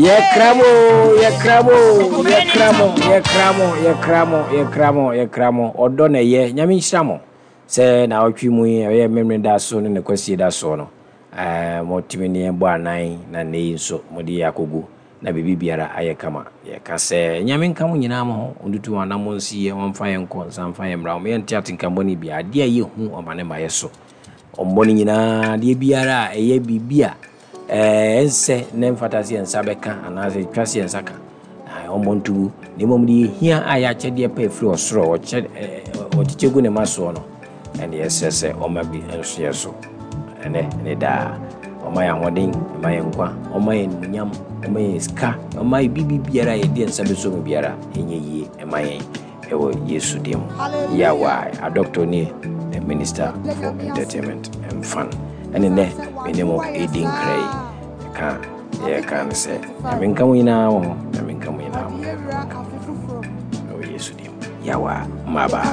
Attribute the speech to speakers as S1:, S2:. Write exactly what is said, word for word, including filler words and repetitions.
S1: Yɛkra mo, yɛkra mo, yɛkra mo, yɛkra mo, yɛkra mo, yɛkra mo, yɛkra mo. Ɔdɔ na ɛyɛ. Nyame nhyira mo sɛ na ɔtwe mu yi, ɛyɛ Mmemme da so ne ne Kwasie da soɔ no, ɛɛ motumi ne yɛn bɔ anan na nnɛ yi nso mode yɛ akɔgu na biribi biara ayɛ kama. Yɛka sɛ Nyame nka mo nyinaa mo ho, ɔntutu wɔn anammɔn nsi yɛ, wɔmfa yɛn nkɔ nsa mfa yɛn mmra, wɔn yɛnte atenkammɔne bi adeɛ a yɛhu ɔma ne ma yɛ so. Ɔmmɔ no nyinaa, adeɛ biara a ɛyɛ biribi a ɛɛ ɛnsɛ na ɛmfata sɛ yɛn nsa bɛka anaasɛ twa sɛ yɛn nsa ka, ɔmmɔ ntogu, na mmom deɛ yɛhia a yɛ akyɛdeɛ pa ɛfiri ɔsoro a ɔkyɛ ɔkyekyɛ gu ne ma soɔ no, ɛne yɛsrɛ sɛ ɔma bi nso yɛ so ɛnɛ ne daa. Ɔma yɛn ahoɔden, ɔma yɛn nkwa, ɔma yɛn animuonyam, ɔma yɛn sika, ɔma yɛn biribi biara a yɛde yɛn nsa bɛsɔ mu biara ɛnyɛ yie ɛma yɛn ɛwɔ Yesu din mu. Yawa adɔctor nie, the Minister for Entertainment and Fun, ɛne nɛ me ne mo ɛdi nkra yi ka yɛka ne sɛ Nyame nka mo nyinaa wɔ ho, Nyame nka mo nyinaa mo, ɛwɔ Yesu din mu. Yawa, bye bye.